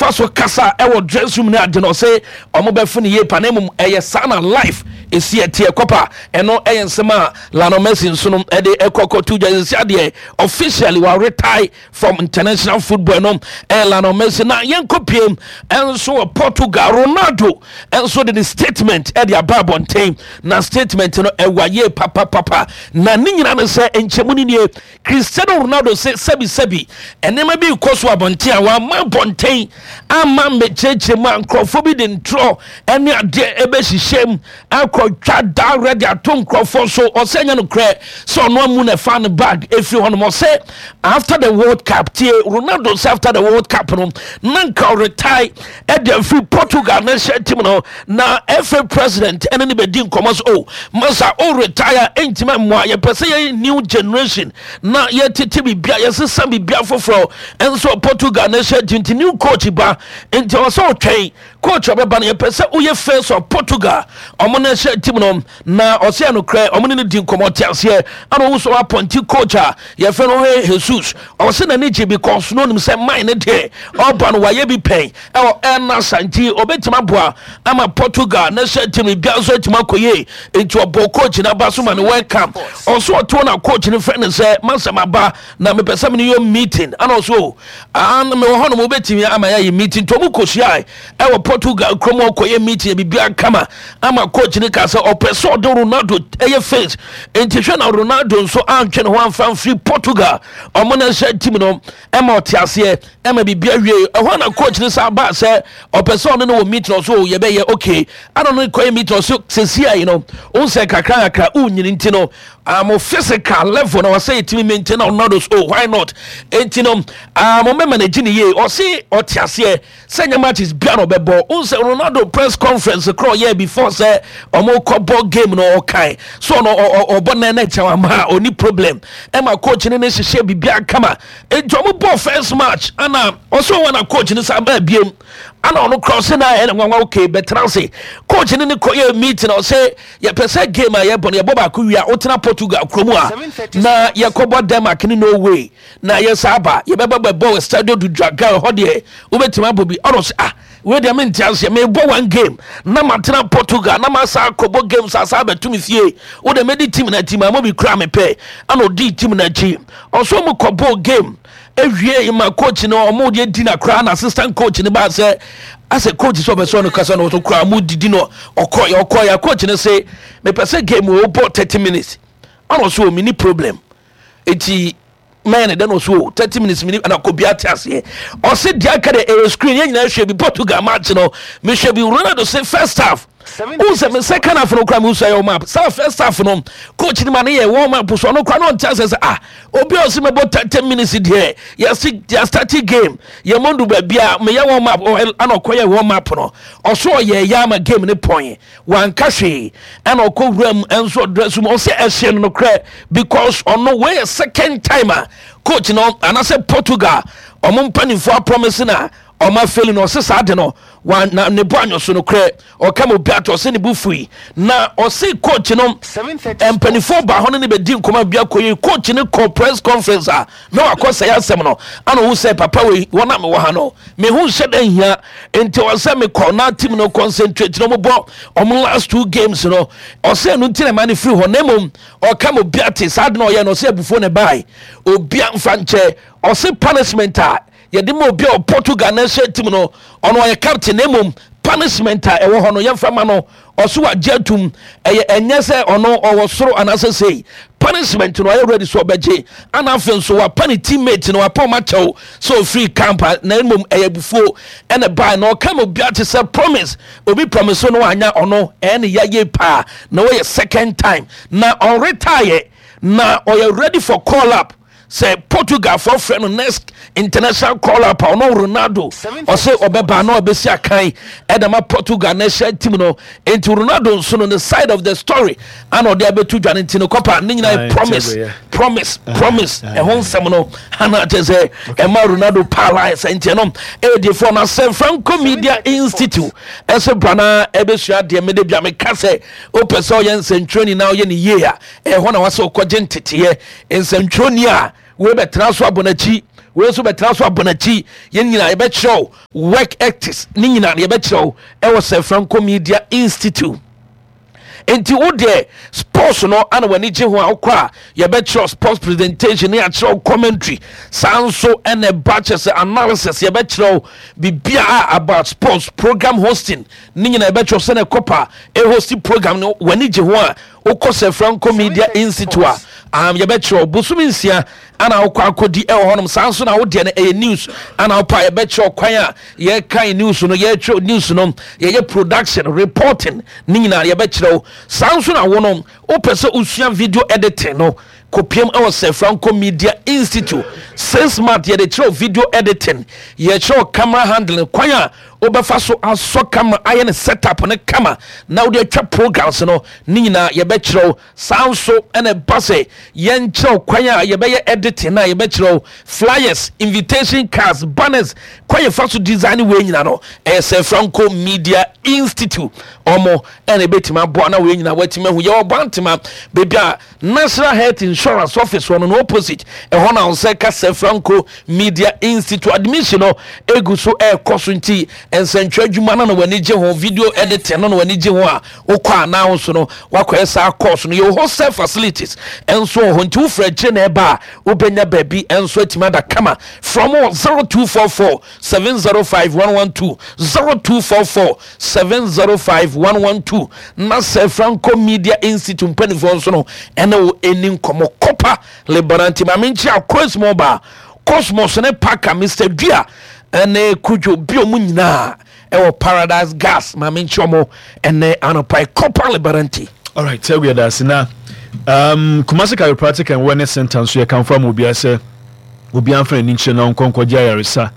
ɔfa so kasa ɛwɔ dress room ne ade no, ɔsɛ ɔmo bɛfo ne yie pa, na mmom ɛyɛ saa na life esi ɛteɛ kɔpa. Ɛno ɛyɛ nsɛm a Lionel Messi nso no ɛde ɛkɔ kɔto dwa. Sisi adeɛ, officially wa retire from international football no. Ɛyɛ Lionel Messi. Na yɛnkɔ piem ɛnso wɔ Portugal. Ronaldo ɛnso de ne statement ɛde aba abɔnten, na statement no ɛwɔ yie papapapa, na ne nyinaa no sɛ nkyɛmu no nie. Cristiano Ronaldo sɛ sɛbisɛbi, nneɛma bi kɔ so abɔnten a wama abɔnten ama mmɛkyerɛkyerɛ mu a, nkurɔfoɔ bi de ntorɔ ɛne adeɛ ɛbɛhyehyɛ mu akɔtwa da de ato nkurɔfoɔ so. Ɔsɛ nyɛ nokorɛ sɛ ɔno amu na ɛfa ne bag ɛfiri hɔ nom. Ɔsɛ after the World Cup, tie, Ronaldo sɛ after the World Cup no, na nka ɔretire ɛde afiri Portugal national team no, na FA president ɛne ne bɛdi nkɔmmɔ so, "O masa, o retire ɛntimi mmoa, yɛpɛ sɛ yɛ new generation na yɛtete biribia, yɛsesa biribia foforɔ ɛnso Portugal national team, nti new coach ba, nti ɔwɔ sɛ ɔtwɛn coach ɔbɛba no, yɛpɛ sɛ woyɛ face of Portugal ɔmo national team no." Na ɔsɛ ɛnokorɛ, ɔmo ne no di nkɔmmɔ te aseɛ, ana ɔwo sɛ ɔappoint coach a yɛfrɛ no Jorge Jesus. Ɔsɛ n'ani gye because no onim sɛ man ne deɛ ɔba no wayɛ bi pɛn ɛwɔ Al Nassr, nti ɔbɛtumi aboa ama Portugal national team bia nso atumi akɔ yie. Nti ɔbɔ coach no aba so ma no welcome. Ɔso ɔto na coach no frɛ no sɛ, "Masɛm aba na mepɛ sɛ mene yɛ meeting." Ana ɔso, "O mewɔ hɔ nom, wobɛtumi ama yɛayɛ meeting?" Nti ɔmo kɔhyiae ɛwɔ Portugal kurom, ɔkɔyɛ meeting, biribiara kama, ama coach no ka sɛ ɔpɛ sɛ ɔde Ronaldo ɛyɛ face. Nti hwɛ na Ronaldo nso antwe ne ho amfa mfiri Portugal ɔmo national team no, ɛma ɔte aseɛ ɛma biribi awie. Ɛhɔ na coach no sa ba sɛ ɔpɛ sɛ ɔne no wɔ meeting. Ɔso yɛbɛyɛ okay, ana ɔno kɔyɛ meeting. Ɔso sɛsi ayi no, wo sɛ kakra kakra wonyini, nti no physical level na wɔsɛ yɛtumi maintain na Ronaldo so, "Oh, why not?" Enti no mɛma no gye ne yie. Ɔse ɔte aseɛ sɛ nyɛ matches bia na ɔbɛbɔ. Wo sɛ Ronaldo press conference korɔ ɔyɛ before sɛ ɔmo kɔbɔ game no, ɔkae so ɔno ɔbɔ nan na kyɛw ama a ɔni problem, ɛma coach no ne hyehyɛ biribiara kama. Enti ɔmo bɔ first match, ana ɔsɛ ɔwɔ na coach no sa baa biem, ana ɔno korɔ ɔsɛ na ɛna nwanwa, okay, bɛtena ase. Coach no ne kɔyɛ meeting, ɔsɛ yɛpɛ sɛ game a yɛbɔ no, yɛbɔ baako wie a, wotena Portugal kurom a na yɛkɔbɔ Denmark ne Norway na yɛsa aba, yɛbɛbɛ bɛbɔ wɔ Stadio do Dragao hɔ deɛ, wobɛtumi abɔ bi. Ɔno sɛ, "Ah, wei deɛ mente aseɛ, mebɔ one game na matena Portugal na masa akɔbɔ games asa abɛto me fie. Wode mɛdi team no akyi ma mo bi kora mepɛ." Ana ɔdii team no akyi. Ɔso mu kɔbɔɔ game ewie ma coach no ɔmo deɛ di na koraa na assistant coach no baa sɛ asɛ coach sɛ ɔbɛsɛ ɔno kasa no, ɔso koraa mo didi no, ɔkɔyɛ ɔkɔyɛ. Coach no sɛ mepɛ sɛ game wɔ bɔ 30 minutes. Ɔno ɔso ɔmi ni problem, eti mɛn ne dɛ no so 30 minutes mini ɛna kɔ bia te aseɛ. Ɔse deɛ aka de ɛyɛ screen, yɛn nyinaa hwɛ bi. Portugal match no mehwɛ bi. Ronaldo se first half n sɛ me second half no kora me nso ɛyɛ warm up. Saa first half no, coach ni ma ne yɛ warm up so, ɔno kora no ɔnte asɛ sɛ, ah, obi a ɔsi mɛbɔ 30 minutes deɛ, yɛsi yɛ start game, yɛ mo ndu baabi a meyɛ warm up. Ɛna ɔkɔ yɛ warm up no, ɔso ɔyɛ yɛ ama game ne pɔn, wanka hwee, ɛna ɔkɔ wura mu ɛnso ɔdress mu. Ɔsɛ ɛhyɛ no nokorɛ because ɔno wei yɛ second time a coach no anaasɛ Portugal ɔmo mpanimfoɔ apromise na ɔmo afail no. Ɔsɛ saa de no wa na ne bo anyo so nokorɛ, ɔka ma obi ato, ɔsɛ ne bo fui, na ɔsɛ coach no mpanimfoɔ ba hɔ no ne bɛdi nkɔmɔ bi akɔ yi. Coach no kɔ press conference a na wakɔ sɛ asɛm no, ana ɔhu sɛ papa wei wɔn a mewɔ ha no mehu nhyɛ dɛ hia, nti ɔsɛ mekɔ na team no concentrate na ɔmobɔ ɔmo last two games no. Ɔsɛ ɛno nti na ɛma no firi hɔ, na mmom ɔka ma obi ate saa de na ɔyɛ no, ɔsɛ abufuo ne bae, obia mfa nkyɛ. Ɔsɛ punishment a yɛde ma obi a Portugal national team no, ɔno ɔyɛ captain, na mmom punishment a ɛwɔ hɔ no yɛmfa ma no. Ɔso wagye atum, ɛyɛ ɛnyɛ sɛ ɔno ɔwɔ soro anaasɛ sei, punishment no ɔyɛ ready so ɔbɛgye. Ana afei nso wapa ne teammate no, wapa ɔma kyɛw sɛ ɔfiri camp a, na mmom ɛyɛ abufuo ɛna baa, na ɔka ma obi ate sɛ promise obi promise no wanya, ɔno ɛyɛ ne yɛyɛ paa na wɔyɛ second time na ɔretire, na ɔyɛ ready for call up sɛ Portugal fɔ frɛ no next international call up a, ɔno Ronaldo ɔsɛ ɔbɛba na ɔbɛsi akan ɛda ma Portugal national team no. Nti Ronaldo nso no ne side of the story ana ɔde abɛto dwa no. Nti no kɔpa ne nyinaa yɛ promise, promise, promise. Ɛho nsɛm no ana kyerɛ sɛ ɛma Ronaldo paala sɛ nti ɛno ɛyɛ no asɛm. Franco Media Institute ɛsɛ bra na ɛbɛsua adeɛ. Mede bia meka sɛ wopɛ sɛ ɔyɛ nsɛntwerɛni na ɔyɛ ne yie a, ɛhɔ na wasɛ wokɔgye nteteɛ. Nsɛntwerɛni a wei bɛtena so abɔ n'akyi. Wei nso bɛtena so abɔ n'akyi. Yɛn nyinaa yɛbɛkyerɛ wo work ethics ne nyinaa no yɛbɛkyerɛ wo ɛwɔ Sir Franco Media Institute. Nti wo deɛ sports no ana w'ani gye ho a, wokɔ a yɛbɛkyerɛ sports presentation ne yɛakyerɛ wo commentary. Saa nso ɛna ɛba kyɛ sɛ analysis, yɛbɛkyerɛ wo biribiara about sports program hosting ne nyinaa yɛbɛkyerɛ sɛ na ɛkɔpa ɛhosti program no. W'ani gye ho a, wokɔ Sir Franco Media Institute a, yɛbɛkyerɛ wo bosome 6 ana wokɔ akɔdi ɛwɔ hɔnom. Saa nso na wodeɛ no ɛyɛ news ana wopɛ a, yɛbɛkyerɛ kwan a yɛkan news no, yɛtwerɛ news no, yɛyɛ production, reporting ne nyinaa yɛbɛkyerɛ wo. Saa nso na wo no wopɛ sɛ wosua video editing no, kɔpiam ɛwɔ Sir Franco Media Institute. 6 months yɛde kyerɛw video editing, yɛkyerɛw camera handling, kwan a wobɛfa so asɔ camera, ayɛ ne setup ne kama na wode atwa programs no ne nyinaa yɛbɛkyerɛw. Saa nso ɛna ɛba sɛ yɛnkyerɛw kwan a yɛbɛyɛ editing na yɛbɛkyerɛw flyers, invitation cards, banners, kwan yɛfa so design wei nyinaa no, ɛyɛ Sir Franco Media Institute ɔmo ɛna ɛbɛtumi aboa na wei nyinaa watumi ahu. Yɛwɔ Bantama, baabi a National Health Insurance office wɔ no no opposite ɛhɔ na sɛ ka Sir Franco Media Institute. Admission no egu so ɛrekɔ so, nti nsɛntwerɛ adwuma no na w'ani gye ho, video editing no na w'ani gye ho a, wokɔ a na nso no wakɔyɛ saa course no. Yɛwɔ hostel facilities nso wɔ hɔ, nti wofiri akyire na ɛba a, wobɛnya baabi nso atumi ada kama. From 0244 705 112, 0244 705 112, na Sir Franco Media Institute mpanimfoɔ nso no ɛne wo ɛni nkɔmmɔ. Kɔpa Lebanon maame nkyia Cosmo ba Cosmos ne Parker, Mr Dua ɛne Kudwo bi, ɔmo nyinaa ɛwɔ Paradise Gas, maame nkyia ɔmo ɛne anɔpa Kɔpa Lebanon. Alright, sɛ wia daase na Kumasi Chiropractic and Wellness Center nso yɛkamfo ama obiara sɛ obiara mfa n'ani nkyerɛ na ɔnkɔ nkɔgye ayaresa.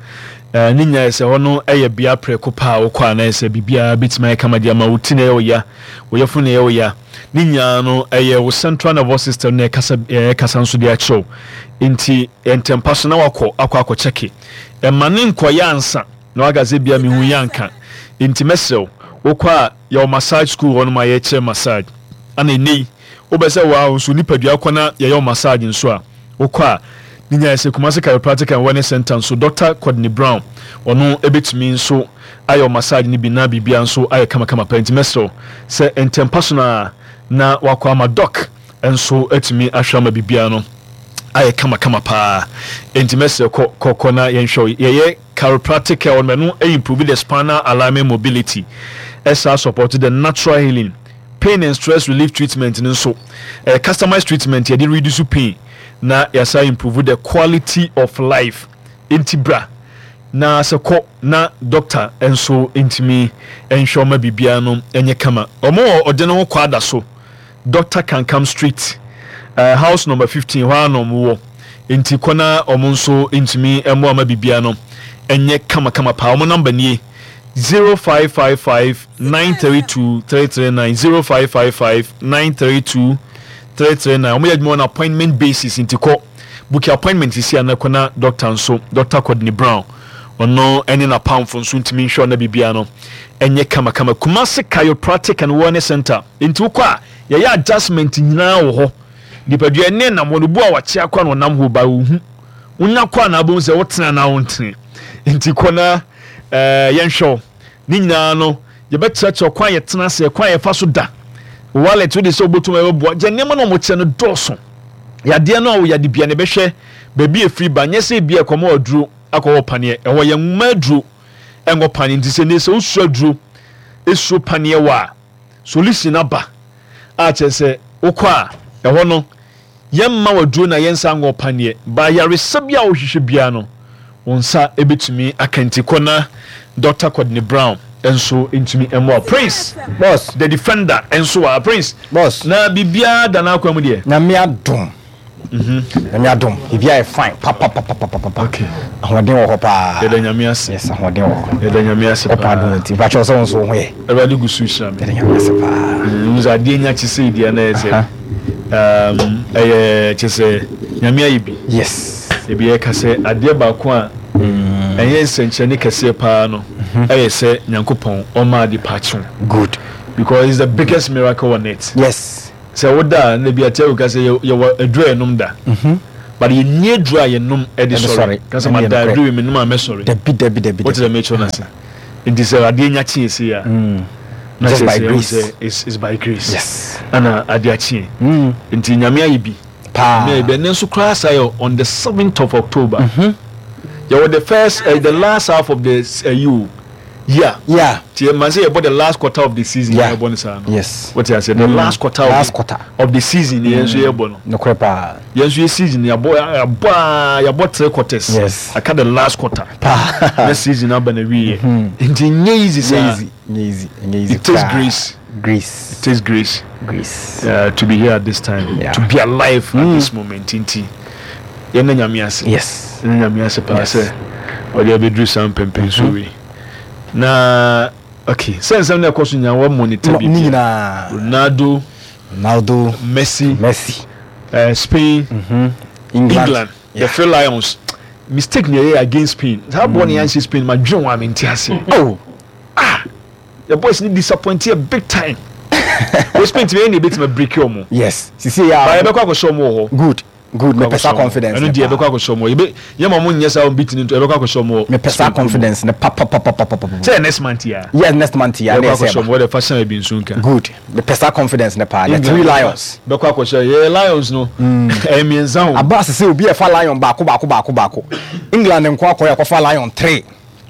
Ne nyinaa yɛ sɛ hɔ no yɛ bea prɛko paa a wokɔ a na yɛ sɛ biribiara bɛtumi ayɛ kama de ama wo. Ti na ɛyɛ wo ya, wo yɛfo na ɛyɛ wo ya, ne nyinaa no ɛyɛ wo central nervous system na ɛkasa, ɛkasa nso de akyerɛw. Nti ntɛmpa so na wakɔ akɔ akɔkyɛke, ɛma ne nkɔyɛ ansa na waka sɛ bia mehu yɛ anka. Nti mɛsrɛ wo, wokɔ a yɛwɔ massage school hɔ nom a yɛkyerɛ massage, ana ɛnɛ yi wobɛ sɛ waa nso nipadua kɔ na yɛyɛ wo massage nso a, wokɔ a ne nyinaa sɛ Kumasi Chiropractic and Wellness Center nso, Dr. Courtney Brown, ɔno ɛbɛtumi nso ayɛ wo massage no bi na biribia nso ayɛ kamakama pa. Nti mɛsrɛ wo sɛ ntɛmpa so no a na wakɔ ama doc nso atumi ahwɛ ama biribiara no ayɛ kamakama paa. Nti mɛsrɛ, kɔ kɔ kɔ na yɛnhwɛ wo. Yɛyɛ chiropractic care hɔ no, ɛno improve the spinal alignment, mobility, ɛsaa support the natural healing. Pain and stress relief treatment no nso ɛyɛ customized treatment yɛde reduce pain na yɛasa improve the quality of life. Nti bra na sɛ kɔ na doctor nso ntumi nhwɛ ɔma biribiara no nyɛ kama. Ɔmo wɔ ɔde no ho kɔ ada so, Dr Kankam Street, house number 15 hɔ ara na ɔmo wɔ. Nti kɔ na ɔmo nso ntumi mmoa ma biribiara no nyɛ kamakama paa. Ɔmo number nie: 0555 932 339, 0555 932 339. Ɔmo yɛ adwuma on appointment basis, nti kɔ book appointment sisi a na kɔ na doctor nso, Dr Courtney Brown, ɔno ɛne n'apamfo nso ntumi nhwɛ ɔna biribiara no ɛnyɛ kamakama. Kumasi Chiropractic and Wellness Center, nti wokɔ a yɛyɛ adjustment nyinaa wɔ hɔ. Nipadua ne nam hɔ no bu a wakyea kɔ a na ɔnam hɔ ba ohu wonya kɔ a na abom sɛ wotena na wontene. Nti kɔ na yɛnhwɛ wo. Ne nyinaa no yɛbɛkyerɛkyerɛ kwan yɛtena ase, kwan yɛfa so da, wallet wode sɛ wobɛtum ɛbɛboa gye nneɛma no a wɔkyerɛ no dɔɔso. Yadeɛ no a wɔyɛ bia na ɛbɛhwɛ baabi efiri ba, nyɛ sɛ ebi ɛkɔmɔ aduro akɔwɔ paneɛ ɛhɔ. Yɛn nwoma aduro ɛngɔ paneɛ, nti sɛ ne sɛ wosuro aduro, esuro paneɛ wɔ a, solution aba a kyerɛ sɛ wokɔ a ɛhɔ no yɛmma waduro na yɛnsa ngɔ paneɛ ba. Yaresa bi a wohwehwɛ biara no wo nsa ebɛtumi aka. Nti kɔ na Dr Courtney Brown nso ntumi mmoa. Prince Boss. The Defender nso wɔ Prince. Boss. Na biribiara da n'akwan mu deɛ? Nyame adom. Nyame adom. Biribiara yɛ fine. Papapapapapa. Okay. Ahoɔden wɔ hɔ paa. Yɛda Nyame ase. Yes, ahoɔden wɔ hɔ. Yɛda Nyame ase Ɔpa paa. adom nti. Mpakyɛw, sɛ wo nso wo ho yɛ? Awurade gu so hyira me. Yɛda Nyame ase paa. Nso adeɛ nya kye sɛ deɛ na ɛyɛ sɛ ɛyɛ kyɛ sɛ Nyame ayɛ bi. Ebi yɛka sɛ adeɛ baako a ɛyɛ nsɛnkyerɛnne kɛseɛ paa no ɛyɛ sɛ Nyankopɔn ɔma ade pa kyew. Good. Because it's the biggest miracle on earth. Sɛ woda a na bi ate awuka sɛ yɛwɔ aduru a yɛnom da. But yɛnni aduro a yɛnom de sɔre. Ka sɛ mada aduro wei menom a mɛsɔre. Dabi dabi dabi. Wote sɛ mekyerɛ no ase. Nti sɛ adeɛ nya kyeɛ sei a na Just kyerɛ by sɛ ɛhu grace. sɛ it's by grace. Yes. Ɛna adeɛ akyeɛ. Nti Nyame ayɛ bi. Paa. Nyame ayɛ bi. Ɛnɛ nso koraa saa yɛ on the 7th of October. Yɛwɔ the first, the last half of the uh, year. Yeah. Nti yɛ man sɛ yɛbɔ the last quarter of the season Yeah. yɛbɔ no saa no. Yes. Wote aseɛ the last quarter of Last the, quarter. of the season yɛn nso yɛbɔ no. Nokorɛ paa. Yɛn nso yɛ season yɛabɔ yɛabɔ aa yɛabɔ three quarters. Yes. Aka the last quarter. Paa. Na season aba na wie. Nti nyɛ easy Nyɛ saa. easy. Nyɛ easy. Nyɛ easy It takes koraa. grace. Grace. It takes grace. Grace. To be here at this time. Yeah. To be alive at this moment nti yɛn na Nyame ase. Yes. Yɛn na Nyame ase paa Yes. sɛ ɔde abɛduru saa mpɛmpɛnso wei. Na okay sɛ nsɛm na ɛkɔ so nyinaa wɔ monitor Ne biribiara. nyinaa. Ronaldo, Ronaldo, Messi, Messi, Spain, England. England, the Three Lions. Mistake na ɛyɛ against Spain. Saa bɔɔl na yɛanhyɛ Spain ma dwen wɔn a mente ase. Oh. Ah, the boys ni disappoint yɛ big time. Wɔ Spain tumi ɛyɛ na ebetumi break wɔn. Yes. Sisi ya. Ba yɛbɛkɔ akɔhyɛ wɔn wɔ hɔ. Good. Good. Mepɛ saa confidence. Ɛno deɛ yɛbɛkɔ akɔhyɛ wɔn. Yɛbɛ yɛn ma wɔn nyɛ saa wɔn beat ni nto yɛbɛkɔ akɔhyɛ wɔn wɔ. Mepɛ saa confidence ne papapapapapa. Sɛ next month ya. Yes, next month ya. Yɛbɛkɔ akɔhyɛ wɔn wɔde fa hyɛn ebi nso nka. Good. Mepɛ saa confidence ne paa. The Three Lions. Bɛkɔ akɔhyɛ yɛ Lions no. Ɛyɛ mmiɛnsa o. Aba asese obi ɛfa lion baako baako baako baako. England nko akɔ yɛ akɔfa lion three.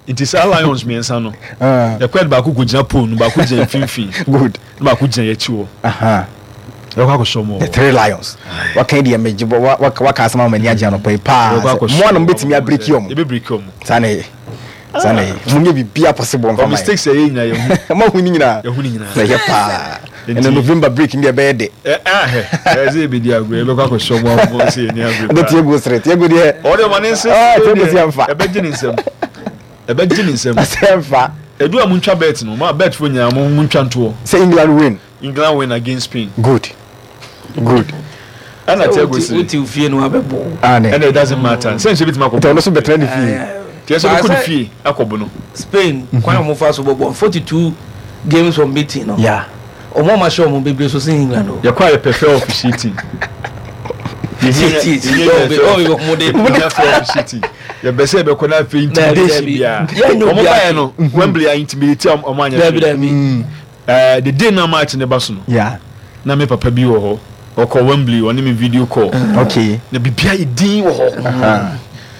Nti saa lions mmiɛnsa no. Yɛkɔ yɛde baako kɔ gyina pole no baako gyina mfimfini. Good. Na baako gyina yɛn akyi hɔ. Yɛbɛkɔ akɔhyɛ wɔn wɔ hɔ. The Three Lions. Waka yi deɛ megye bɔ waka waka asɛm ama m'ani agye anɔpa yi paa. Yɛbɛkɔ akɔhyɛ Mo a na mobɛtumi abiriki wɔn. Yɛbɛbiriki wɔn. Saa na ɛyɛ. Saa na ɛyɛ. Monyɛ biribiara possible mfa ma yɛn. Mistakes a yɛyɛ nyinaa yɛhu. Moahu ne nyinaa. Yɛhu ne nyinaa. Na ɛyɛ paa. Ɛnna November break ni deɛ ɛbɛyɛ dɛ. Ɛ ahɛ ɛsɛ yɛbɛdi agorɔ yɛbɛkɔ akɔhyɛ wɔn a wɔn sɛ yɛni abere paa. Ɛdɛ Tiago sere Tiago deɛ. Ɔde ɔma ne nsa. Tiago si ɛnfa. Ɛbɛgye ne nsam. Ɛbɛgye ne nsam. Ɛsɛ ɛnfa. Edu a muntwa bet no, ma bet fo nyinaa mo muntwa ntoɔ. Sɛ England win. England win against Spain. Good. Good. Ɛna Tiago sere. Wote fie no abɛbɔ. Ɛna it doesn't matter. Sɛ nhyɛ bitumi akɔbɔ. Nti ɔno so bɛtena ne fie. Tiɛ sɛ bɛkɔ ne fie akɔbɔ no. Spain kwan a wɔn fa so bɔbɔ 42 games unbeaten no. Yeah. Wɔn a wɔahyɛ wɔn bebree so sen England o. Yɛkɔ a yɛpɛ fair officiating. Yɛbɛ sɛ yɛbɛkɔ no afei intimidation biara. Wɔn baeɛ no Wembley a intimidate a wɔn anyɛ hwee. The day na match ne ba so no. Na me papa bi wɔ hɔ. Ɔkɔ Wembley ɔne me video call. Okay. Na biribiara yɛ din wɔ hɔ.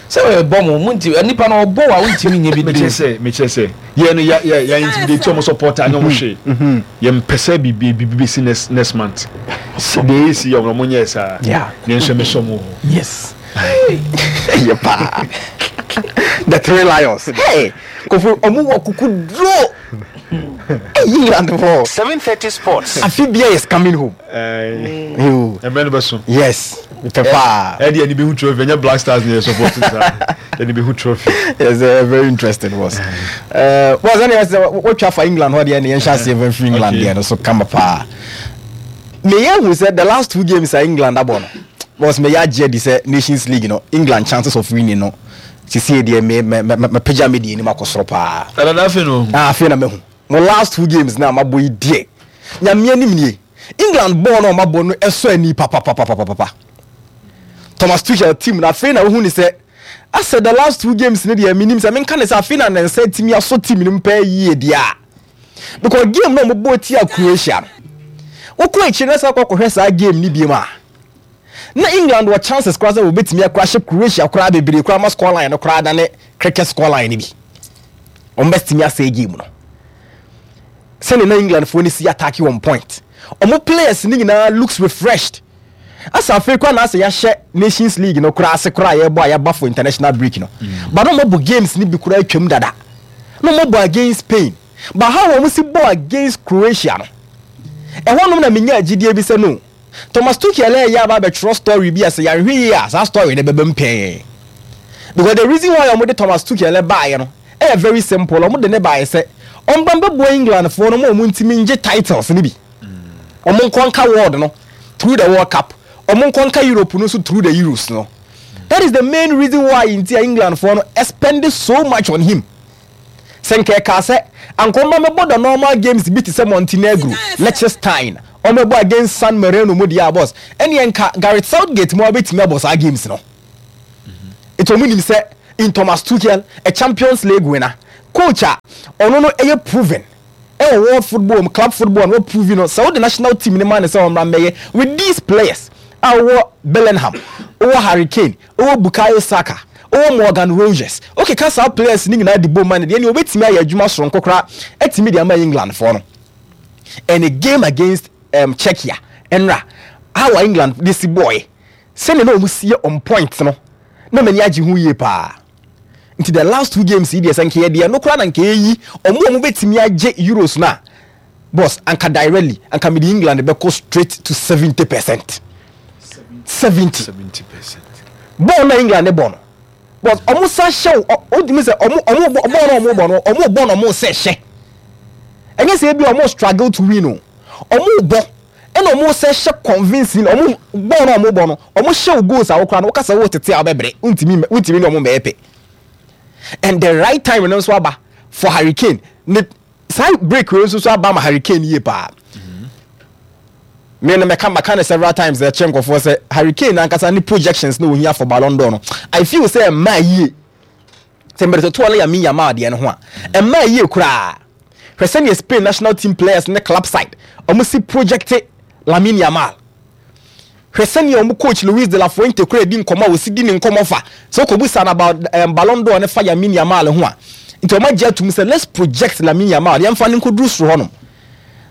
Sɛ ɔbɔ mo mo nti nipa na ɔbɔ wa wontumi nyɛ bi mekyerɛ sɛ mekyerɛ sɛ yɛn no yɛ yɛ yɛ intimidate ɔmo supporter anyɛ ɔmo hwee yɛn mpɛ sɛ biribi biribi bɛsi next next month deɛ yɛ si yɛ ɔmo nyɛ saa ne nso ɛmɛ sɔ mo hɔ. Yes. Yɛ paa. The Three Lions. Hey, Kofi ɔmo wɔ kuku duro. England fɔ. 7:30 Sports. Afi bia is coming home. Ɛmɛ no bɛ so. Yes. Mepɛ paa. Ɛdi ɛni bɛ hu trophy ɛnyɛ Black Stars ni yɛ support saa. Ɛni bɛ hu trophy. Yes, very interesting was. Was ɛni ɛsɛ wotwa fa England hɔ deɛ ni yɛn hyɛ aseɛ fɛn firi England deɛ no so kama paa. Meyɛ hu sɛ the last two games a England abɔ no was meyɛ agye adi sɛ Nations League no England chances of winning no sisi deɛ me me me mepagya me deɛ anim akɔ soro paa. Ɛna na afei na ohu. Ah, afei na mehu. Mo last two games na mabɔ yi deɛ Nyame anim nie. England bɔɔl na ɔmabɔ no ɛsɔ ani papapapapapa. Thomas Tuchel team na afei na wohu ne sɛ asɛ the last two games ne deɛ menim sɛ menka ne sɛ afei na ne nsa atumi asɔ team no mu pɛɛ yie deɛ a because game na ɔmobɔ tia Croatia no wokɔ akyire na sɛ kɔkɔhwɛ saa game no biom a na England wɔ chances koraa sɛ wɔbɛtumi akora hyɛ Croatia koraa bebree koraa ma scoreline no koraa dane cricket scoreline no bi wɔn bɛtumi asɛe game no sɛnea na England foɔ no si attack on point wɔn players no nyinaa looks refreshed asa afei koraa na asɛ yɛahyɛ Nations League no koraa ase koraa yɛbɔ a yɛaba for international break no but na wɔn abɔ games no bi koraa atwam dada na wɔn abɔ against Spain but how wɔn si bɔ against Croatia no ɛhɔnom na menya agyidie bi sɛ no Thomas Tuchel ɛyɛ aba abɛtwerɛ story bi a sɛ yɛanhwɛ yie a saa story no bɛba mu pɛɛ because the reason why wɔde Thomas Tuchel baeɛ no ɛyɛ very simple wɔde ne baeɛ sɛ ɔmba mbɛboa England foɔ no ma wɔn ntumi ngye titles no bi wɔn nkɔ nka world no through the World Cup wɔn nkɔ nka Europe no nso through the Euros no that is the main reason why nti a England foɔ no spend so much on him sɛ nka ɛka sɛ ankɔmba mɛbɔ the normal games bi te sɛ Montenegro, Liechtenstein ɔmɛbɔ against San Marino mu deɛ a boss ɛneɛ nka Gareth Southgate mu a bɛtumi abɔ saa games no. Nti ɔmo nim sɛ in Thomas Tuchel, a Champions League winner, coach a ɔno no ɛyɛ proven ɛwɔ world football mu, club football no wa prove no, sɛ wode national team no ma no sɛ ɔmmra mmɛyɛ with these players a wowɔ Bellingham, wowɔ Harry Kane, wowɔ Bukayo Saka, wowɔ Morgan Rogers, wokeka saa players no nyinaa de bom ma no deɛ, ɛneɛ ɔbɛtumi ayɛ adwuma soronko koraa atumi de ama England foɔ no. And a game against um, Czechia, ɛnra, how a England de si bɔɔɛ, sɛnea na wɔn si yɛ on point no, na m'ani agye ho yie paa. Nti the last two games yi deɛ sɛ nka yɛde ɛno koraa na nka yɛyi wɔn a wɔbɛtumi agye Euros no a, boss, anka directly anka mede England bɛkɔ straight to 70%. 70. 70%. Bɔɔl na England bɔ no, boss, wɔn sa hyɛ wo, wotumi sɛ wɔn wɔn bɔ bɔɔl na wɔn bɔ no, wɔn bɔ na wɔn sɛ hyɛ. Ɛnyɛ sɛ ebi wɔn struggle to win o, wɔn bɔ ɛna wɔn sɛ hyɛ convincing. Wɔn bɔɔl na wɔn bɔ no, wɔn hyɛ wo goals a wokora no, wokasa wo tete a wobɛbrɛ, wontumi ne wɔn mmɛyɛ pɛ. And the right time no nso aba for Harry Kane ne saa break wei nso so aba ma Harry Kane yie paa. Me no mɛka, maka no several times ɛkyɛ nkɔfoɔ sɛ Harry Kane ankasa ne projections na ohia for Ballon d'Or no, I feel sɛ ɛmmaa yie sɛ mmerɛ totoɔ no Lamine Yamal deɛ no ho a, ɛmmaa yie koraa. Hwɛ sɛdeɛ Spain national team players ne club side ɔmo si project Lamine Yamal. Hwɛ sɛnea wɔn coach Luis de la Fuente koraa di nkɔmmɔ a wɔsi di ne nkɔmmɔ fa. Sɛ wokɔbisa no about um, Ballon d'Or ne fa Lamine Yamal ho a, nti wɔn agye atum sɛ let's project Lamine Yamal, yɛmfa no nkɔduru soro hɔnom.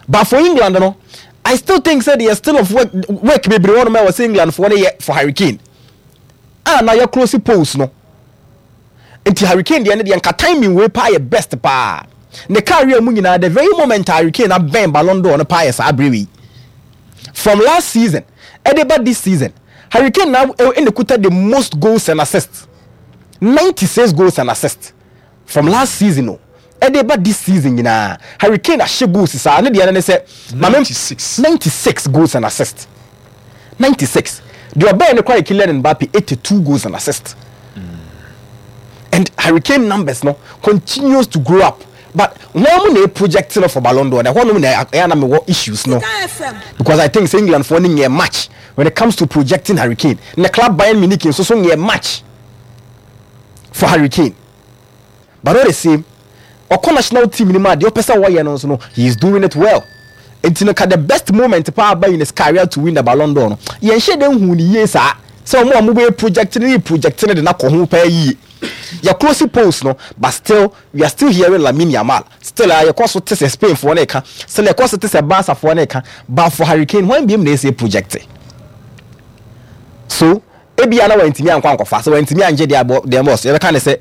But for England no, I still think sɛ there still of work, work bebree hɔnom a ɛwɔ sɛ England foɔ no yɛ for Harry Kane. A na yɛ close polls no. Nti Harry Kane deɛ no deɛ nka timing wei paa yɛ best paa. Ne career mu nyinaa, the very moment a Harry Kane abɛn Ballon d'Or no paa yɛ saa bere wei. From last season ɛde ba this season, Harry Kane na ɛna kuta the most goals and assists. 96 goals and assists from last season o. Ɛde ba this season nyinaa, Harry Kane ahyɛ goals saa ne deɛ no ne sɛ 96. 96 goals and assists. 96. Deɛ ɔbɛn no koraa yɛ Kylian Mbappe, 82 goals and assists. And Harry Kane numbers no continues to grow up. But wɔn mu na project no for Ballon d'Or. Na ɛhɔ nom na ɛyɛ na mewɔ issues no. Because I think sɛ England foɔ no nyɛ match when it comes to projecting Harry Kane. Na club Bayern Munich nso so nyɛ match for Harry Kane. But all the same, ɔkɔ national team no mu a deɛ ɔpɛ sɛ wɔyɛ no nso no, he is doing it well. Nti no ka the best moment paa aba in his career to win the Ballon d'Or no, yɛnhyɛ dɛ nhu ne yie saa sɛ wɔn a wɔbɛyɛ project no ne project no de no akɔ ho paa yie. Yɛ close polls no, but still we are still hearing Lamine Yamal. Still a yɛkɔ so te sɛ Spain foɔ no reka, still yɛkɔ so te sɛ Barca foɔ no reka, but for Harry Kane, hwan biom na ɛsɛ project? So ebia na wantumi ankɔ ankɔfa, sɛ wantumi angye deɛ abɔ deɛ boss, yɛbɛka ne sɛ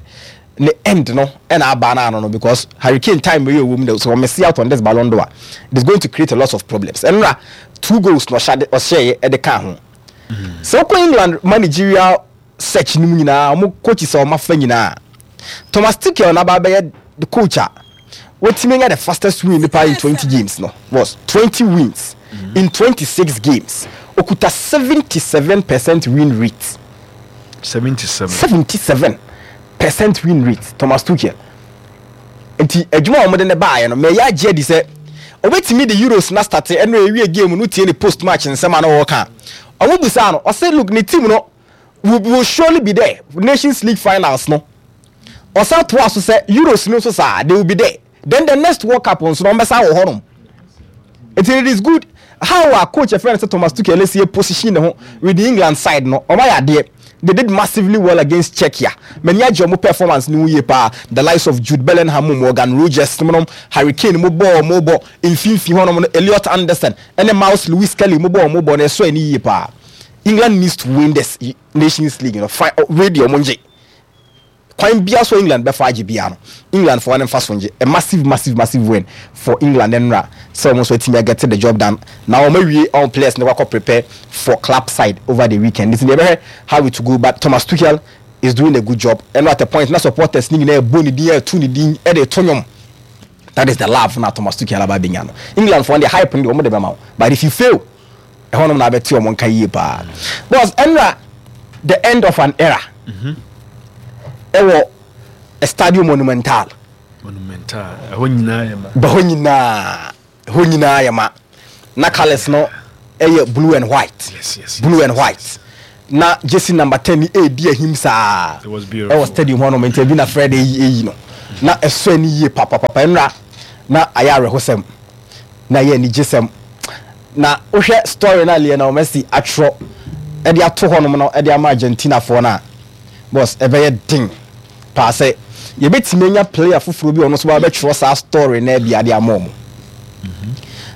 ne end no ɛna aba no ano no, because Harry Kane time wei ɔwɔ mu no, so ɔmess out on this Ballon d'Or, it is going to create a lot of problems. Ɛnora two goals na ɔhyɛ ɔhyɛeɛ ɛde ka ho. Sɛ wokɔ England managerial search no mu nyinaa, ɔmo coaches a ɔmo afa nyinaa, Thomas Tuchel na aba abɛyɛ the coach a watumi anya the fastest win nipa in 20 games no, was 20 wins in 26 games. Okuta 77% win rate. 77. 77% win rate, Thomas Tuchel. Nti adwuma a wɔde ne baeɛ no, mɛyɛ agye adi sɛ obetumi de Euros na start. Ɛno ewie game no, tie ne post match nsɛm a na wɔka. Wɔn busaa no, ɔsɛ look, ne team no will surely be there Nations League finals no. Ɔsan toa so sɛ Euros no nso saa, they will be there, then the next World Cup nso no wɔn bɛsa wɔ hɔnom. Nti it is good how a coach ɛfrɛ no sɛ Thomas Tuchel esi position ne ho with the England side no. Wɔn ayɛ adeɛ, they did massively well against Czechia. Mani agye wɔn performance ne ho yie paa. The likes of Jude Bellingham mu, Morgan Rogers mu nom, Harry Kane mu bɔɔ mo bɔ mfimfini hɔnom no, Elliot Anderson ɛne Miles Lewis Kelly mu bɔɔ mo bɔ no, ɛsɔ ani yie paa. England needs to win this Nations League no. Fine, wei deɛ ɔmo ngye kwan bia so England bɛfa agye bia no, England foɔ ne nfa so ngye. A massive, massive, massive win for England nnora sɛ wɔn nso atumi get the job done na wɔn awie wɔn players ne wakɔ prepare for club side over the weekend. Nti deɛ ɛbɛhwɛ how it go, but Thomas Tuchel is doing a good job. Ɛno at a point na supporters ne nyinaa ɛbɔ ne din, ɛto ne din, ɛde to nwom. That is the love na Thomas Tuchel aba abɛnya no. England foɔ deɛ, hype no deɛ wɔn de bɛma wo, but if you fail, ɛhɔnom na abɛte wɔn nka yie paa. Boss, ɛnra the end of an era ɛwɔ Estadio Monumental. Monumental, ɛhɔ nyinaa yɛ ma. Bɛhɔ nyinaa, ɛhɔ nyinaa yɛ ma. Na colours no ɛyɛ blue and white. Yes. Blue and white. Na jersey number 10 ni ɛredi ahim saa It was beautiful. ɛwɔ stadium hɔ nom. Nti ebi na Fred eyi eyi no na ɛsɔ ani yie papapapa. Nnra na ayɛ awerɛhosɛm na ɛyɛ anigyesɛm. Na wohwɛ story na Lionel Messi atwerɛ ɛde ato hɔ nom no ɛde ama Argentinafoɔ no a, boss, ɛbɛyɛ den paa sɛ yɛbɛtumi anya player foforɔ bi a ɔno nso bɛtwerɛ saa story na ɛbi ade ama ɔmo.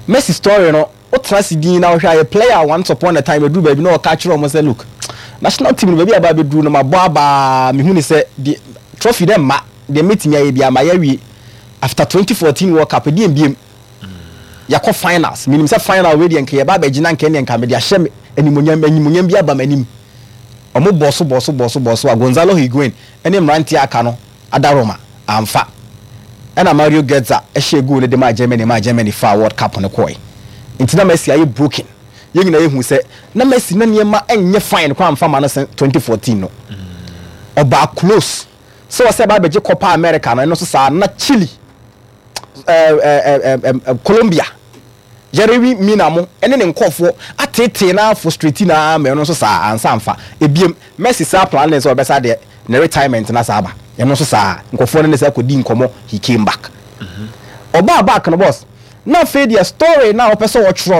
Messi story no, wotena ase din na wohwɛ a, yɛ player once upon a time aduru baabi na ɔka kyerɛ ɔmo sɛ, "Look, national team no, baabi a aba abɛduru no, mabɔ abaa, mehu ne sɛ de trophy dɛ mma deɛ mɛtumi ayɛ bi ama yɛawie after 2014 World Cup ɛdeɛ mbiem yɛkɔ finals. Menim sɛ final wei deɛ, nka yɛba abɛgyina, nka ɛneɛ nka mede ahyɛ me animonyam, animonyam bi aba m'anim." Ɔmo bɔ so, bɔ so, bɔ so, bɔ so a Gonzalo Higuain ɛne mmeranteɛ aka no adaroma amfa, ɛna Mario Götze ɛhyɛ goal no de maa Germany, maa Germany fa World Cup no kɔɛ. Nti na Messi ayɛ broken. Yɛn nyinaa yɛhu sɛ na Messi na nneɛma ɛnyɛ fine kwan amfa ma no sɛ 2014 no ɔbaa close sɛ ɔsɛ ɛba abɛgye Copa America no. Ɛno nso saa na Chile, ɛɛ ɛɛ ɛɛ Colombia, Yerry Mina mo ɛne ne nkɔfoɔ atetee na frustrate na ama ɛno nso saa ansa nfa ebiem. Messi saa plan ne sɛ ɔbɛsa deɛ ne retirement na saa aba. Ɛno nso saa nkɔfoɔ no ne sɛ akɔdi nkɔmɔ. He came back, ɔbaa back no, boss, na afei deɛ story na ɔpɛ sɛ ɔtwerɛ.